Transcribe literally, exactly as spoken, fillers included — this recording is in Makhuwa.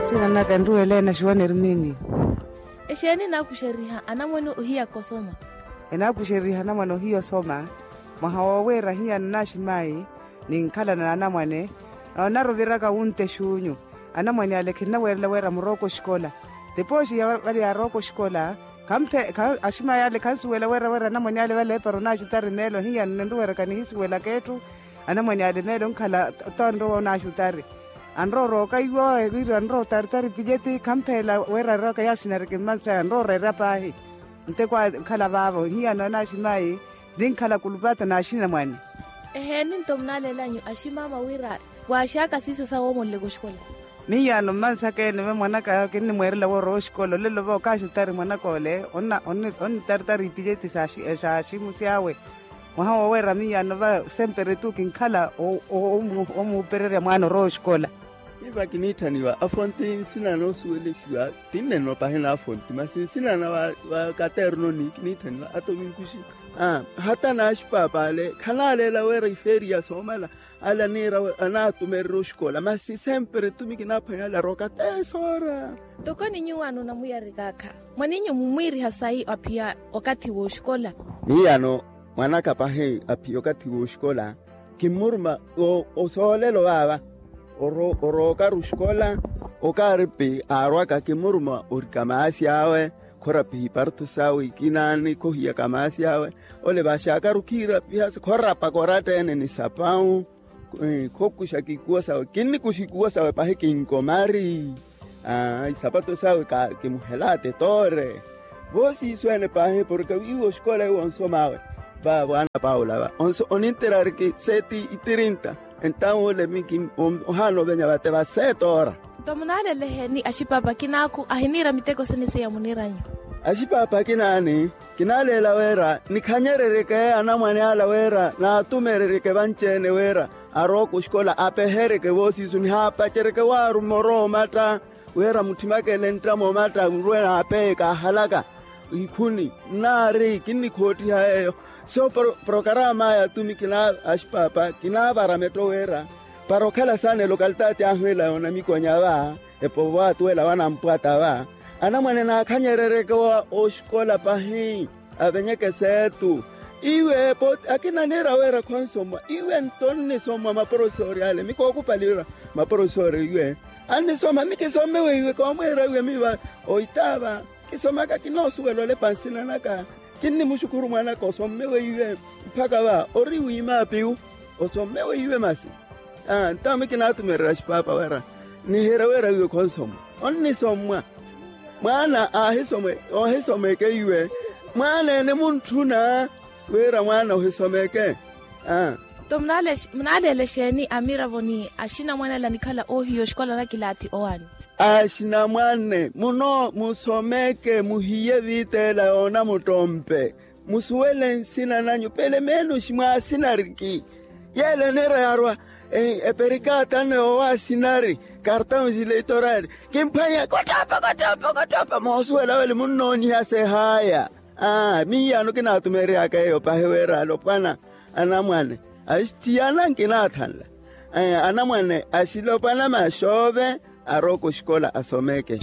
Sinanaka enruwela ena xiwani ermini. Exeeni enaakuxeriha anamwane ohiyaka osoma? Enaakuxeriha anamwane ohiya osoma. Mwaha woowiira hiyano naaximayi ninkhalana n'anamwane. Onaruviraka wunte exuunyu. Anamwane ale khinnaweerela wira murooka oxikola. Tipooxi ya vale yarooka oxikola. Khamphe aximayi ale khansuwela wira wira anamwane ale vale epara onaaxutari meelo hiyano ninruweraka nihisuwelaka etthu. Anamwane ale meelo onkhala tonrowa onaaxutari. Anrowa orooka iwo wira anrowa otaritari pilyeti khampheela wira arooka yaasinariki mmansa anrowa oreera paahi. Nteko ankhala vaavo hiyano anaaximayi ninkhala kulupata naaxinamwane. Eheeni nto munaaleelanyu aximaama wira waaxaka siisa sawoomoleleka oxikola. Miyano mmansaka ene ve mwanaka kinnimweerela woorowa oxikola olelo va okaaxutari mwanaka ole onnitaritari ipilyeti saaximusi awe. Mwaha wooweera miyano va sempre tu kinkhala omuupererya mwaana orowa oxikola. Miiva kiniitthaniwa afonti nsina noosuwelexiwa. Tinneno pahina afonti masi nsina na va katerno ni kiniitthaniwa atominkuxi. Hata naaxipaapa ale khanaaleela wira ifeeriya soomala. Ale aniira anaatumererya oxikola masi sempre tumi kinaaphwanya ale arooka tesoora. Tokoni nyuwo anoona muyarikaakha mwaninyu mumwiiriha sayi aphiya okathi w'oxikola? Miyano mwanaka pahi aphiya okathi w'oxikola. Kimmuruma osoolelo vaava orookaru oxikola. Okaaripi aarwaka kimmuruma orika maasi awe. Khorapiha iparto sawe ikinaani khohiyaka maasi awe. Ole vaxaakaru khiirapiha khorapaka oratta ene ni sapawu. Khokuxaka ikuwo sawe kinnikuxa ikuwo sawe pahi kinkomari. Isapato sawe kimuhela atetoore. Voosiiso ene pahi porke wiiwa oxikola iwo onsomaawe. Va vwana paula va onso oninterariki seeti itirinta. Entawu ole miki ohaana ovenya vate va seetoora. Nto munaaleleheeni axipaapa kinaakhu ahiniira miteko sene seiya muniiranyu? Axipaapa kinaani kinaaleela wira nikhanyereryeke anamwane ala wira naatumereryeke vanci-ene wira arooka oxikola apeheryeke voosiisu nihaapaceryeke waaru moro omatta. Wira mutthimaka ele ntta moomatta nruwe naapehe kaahalaka ikhuni nnaari kinnikhoottiha yeeyo. So porokaramaya tumi kina axipaapa kinaavara metto wira para okhala saana elokalitaati ahu ela yoonamikonya va epovo atuwela wanampwata va anamwane naakhanyereryeke oxikola pahi avenyeke seetu. Iwe akina niira wira khonsomwa iwe nto nnisomwa maporofesori ale mikookhupalira maporofesori iwe annisoma mikisomme weiwe koomweera iwe miiva oitaava. Kisomaka kinoosuwela olepa nsina naka kinnimuxukhuru mwanaka osomme weiwe mpakha va ori wiima apiwu. Osomme weiwe masi ntawo mikinatumererya axipaapa wira nihiira wira wiiwe khonsomwa onnisommwa. Mwaana aahisomwe oohisomeke iwe mwaana ene muntthuna wira mwaana ohisomeke. Nto munaaleela exeeni amiravo ni axinamwane ala nikhala oohiya oxikola na kilaathi owaani? Axinamwane muno musomeke muhiye viitela yoona muttompe. Musuwele nsina nanyu pele menuxi mwaasinariki. Yeela eniira yaarwa eperikaata nne yoowa asinari kartawunsi leitoraari kimphwanya kottoppa kottoppa kottoppa moosuwela wele munnooniha sehaya. Miiyano kinaatumereryaka eyo pahi wira alopwana anamwane axithiyana nkinaathanla anamwane axilopwana maxoove arooka oxikola asomeke.